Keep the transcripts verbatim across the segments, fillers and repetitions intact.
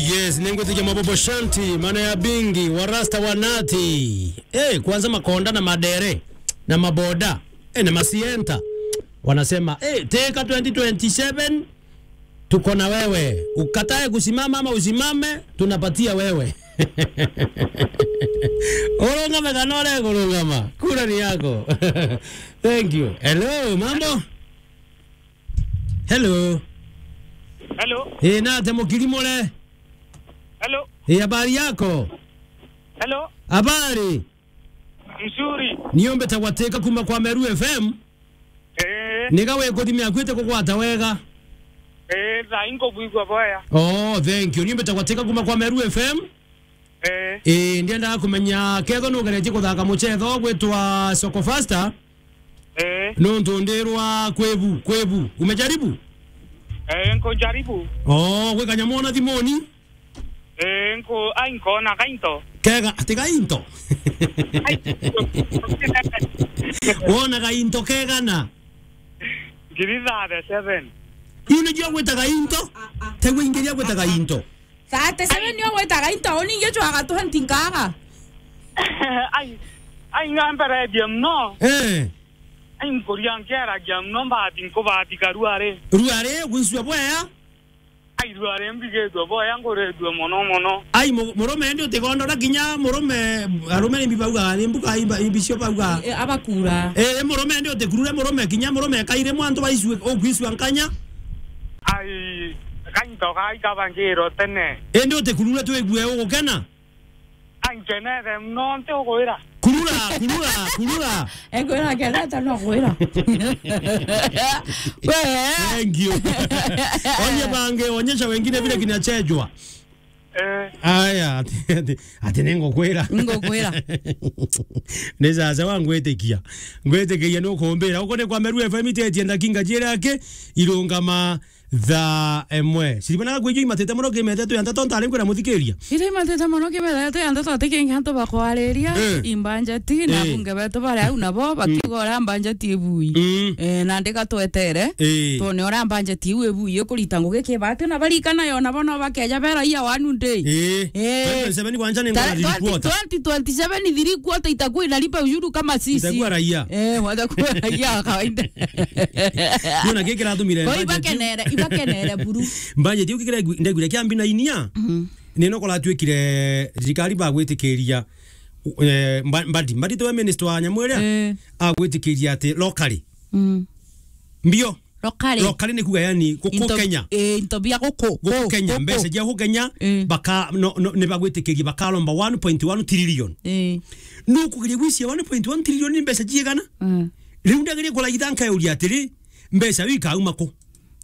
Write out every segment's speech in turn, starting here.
Yes, ningwitikia mabobo shanti, maana ya bingi, warasta wanati. Eh, kwanza makonda na madere, na maboda, eh, na masienta. Wanasema, eh, Teka twenty twenty-seven, tuko na wewe. Ukatae kusimama ama usimame, tunapatia wewe. Urungame kana urega kurungama. Kura ni yako. Thank you. Hello, mambo? Hello. Hello. Eh, nate mukiri mure? Hello. Eh, habari yako? Hello. Habari? Mzuri. Niombe tagwateka kuma kwa Meru F M. Eh. Niga we kuthimia kwite kugwata wega. Eh, thaa ingo bwigwa boya. Oh, thank you. Niombe tagwateka kuma kwa Meru F M. Eh. Eh, ndiendaga kumenya ketho nugeretie kuthaka muchetho gwitwa Soko Faster. Eh. Nontu ndirwa kwibu, kwibu. Umejaribu? Eh, nkujaribu. Oh, gwi kanyamu ona thimuni? Eh, nku-, ai, nkona gainto. Kega, ati gainto? Ai. Wona gainto kegana? Ngiri thirty-seven. Iu nijio gwita gainto? Tegwe ingiria gwita gainto. Thirty-seven nio gwitaga into, uningi cwaga twenty nkaga. Ai, ai, ngamberetie mno. Eh. Ai, nkuria nkeragia mno, mbati nkubatika ruari. Ruari, gwicua bwea? Ai, ruari mbigitwe bwea, nguritwe mono mono. Ai, mu-, murume ndi utigondora kinya murume, arume ni mbibauga, ni mbuga imba, imbicio bauga. Eh, abakura. Eh, murume ndi utikurure murume, kinya murume kaire mwantu baicue, ukwicua nkanya. Ai, gainto gai kabangirwo tene. Indi utikurure twigue ugukena? Ankenere mno nti ugwira. Kurura, kurura, kurura. Egwira kenete no gwira. We. Thank you. Onye bange, onyesha wengine vile kinachejwa. Eh. Aya, ati, ati, ati ningukwira. Ningukwira. Ni sasa wa ngwitikia. Ngwitikiria nukumbira. Uko ni kwa Meru F M itetie ndakinga jiri aki irungama thaa imwe. Siribana gwijo imatete muno kimete tu yanta tontu ari nkwira muthikiria. Ira imatete muno kimete tu yanta tontu kingi antu bakwariria. Eh. Imbanjeti na Eh. bunge betu bari au nabo bakiuga uria mbanjeti ibui. Mm. Eh, na ndiga twetere. Eh. Tuone uria mbanjeti iu ibui ikurita ngugi kibati na barikana yo nabo no bakeja bera ia wanu ndi. Eh. Eh. Twenty twenty-seven kwanja ni Ta-, ngona twenty, twenty twenty-seven three quarter itakuwa inalipa ushuru kama sisi. Itakuwa raia. Eh, watakuwa raia wa kawaida. Nona giki kiratumire. Kwa budget iu. Ibakenere, ibakenere buru. Budget iu gikira ngu-, ndegwire kia mbina inia. Mhm. Nino kuratuikire thirikari bagwitikiria, eh, mba-, mbadi, mbadi tu minister wa nyamu iria, eh, agwitikiria ati locally. Mm. Mbio. Locally. Locally ni kuga yani guku Kenya. Eh, into bia guku. Guku Kenya, mbeca cia guku Kenya, eh, baka, no, no, ni bagwitikiria bakaromba one point one trillion. Eh. Nukugeria gwiciria one point one trillion ni mbeca ciigana? Mm. Riu ndageria kuraitha nkauria atiri, mbeca iu ikauma ku?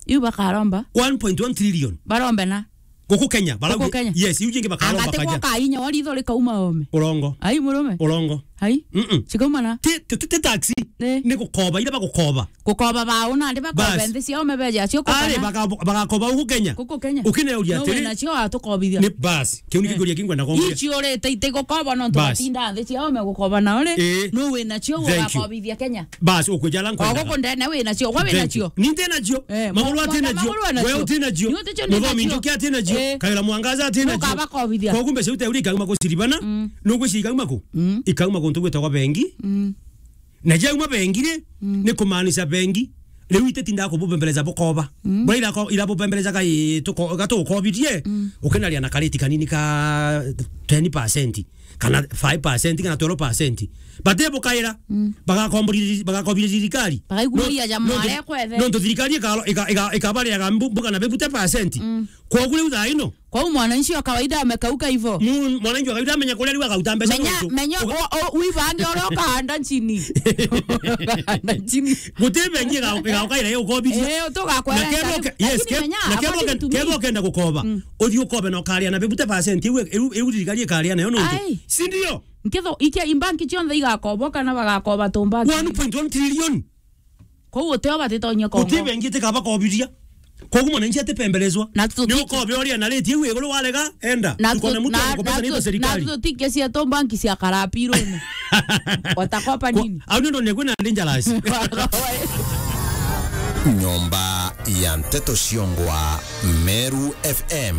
Iu bakaromba. One point one trillion. Barombe na? Guku Kenya, barauga, guku Kenya. Yes, iu jingi bakaromba. Angati kaja. Gwoka inya wa ritho rikauma ome. Urongo. Ai, murume. Urongo. Ai. Mm-mm. Cikauma na? Ti, ti, ti, ti taxi. Ni. Ni gukoba, ira bagukoba. Gukoba bao nandi bakobe. Bas. Nthi ciao mebeja cio. Ari, gukana. Baga-, bagakoba guku Kenya. Guku Kenya. Ukineuria atiri. No wina cio atukobithia. Ni bas. Kiu ni, eh, kiguria kingwenda kumbia. Ici urite iti gukoba nontu, bas, batinda nthi ciao megukoba nao ri. Eh. No wina cio. Thank you. Ugakobithia Kenya. Bas, ukwija ala nkwendaga. O guku ndene wina cio, gwe wina cio. Thank you. Ni nti nacio. Eh, maguru ati nacio. Maguru ati nacio. Wewe uti nacio. Ni uti cio ni nacio. Muthomi Njuki ati nacio. Eh. Kaira Mwangaza ati nacio. Nukaba kobithia. Koguo mbeca iu teuri ikauma ku Siribana. Mm. Nugwiciria ikauma ku? Mm. Ikauma guntu gwitagwa bengi. Mm. Na jauma bengi ri, mm, ni kumaanisha bengi. Riu ititindaga kububembeleza bukoba. Mm. Bura irako-, irabubembeleza gai tuko-, gatugukobirie, mm, ukinaria na kariti kanini ka ten percent, kana five percent, kana twelve percent. Bate bukaira, mm, bagakombori-, bagakobiria thirikari. Bagaikuria. No, ja no, mware kwethe. Nontu thirikari ikaro-, ika-, ika-, ikabariraga mbu-, mbuga na fifty percent. Mm. Koguo riu thaa ino, kwou mwananchi wa kawaida amekauka hivo. Mu-, mwananchi wa kawaida amenya kuria riu agauta mbeca. Menya, nontu menya, uga- o, o, wibange uria ukahanda nchini. Ukahanda nchini. Guti bengi iga-, igaoka ira iukobiria. Eh, utugakwera. Na kethira uke-, yes, lakini ke-, menya, na kethira uke-, kethira ukenda gukoba, mm, uthii ukobe na ukaria na fifty percent iu, iu, iu thirikari ikaria nayo nontu. Ai. Si ndio? Nketho, ikia imbanki cionthe igakobo kana bagakoba tumbanki? One point one trillion. Kwou utio batitonyia kongo. Guti bengi itikaba kobiria. Koguo mwananchi atipembelezwa. Na tuti- ni ukobe uria na rate iu iguru warega, enda. Na tukone tu-, mutu na, agukobetha na ni tu-, serikali. Na tutikia cietu mbanki cia karapirune. Watakopa nini? Au ni ndo ni kwina dangerous. Nyomba ya Nteto Ciongwa, Meru F M.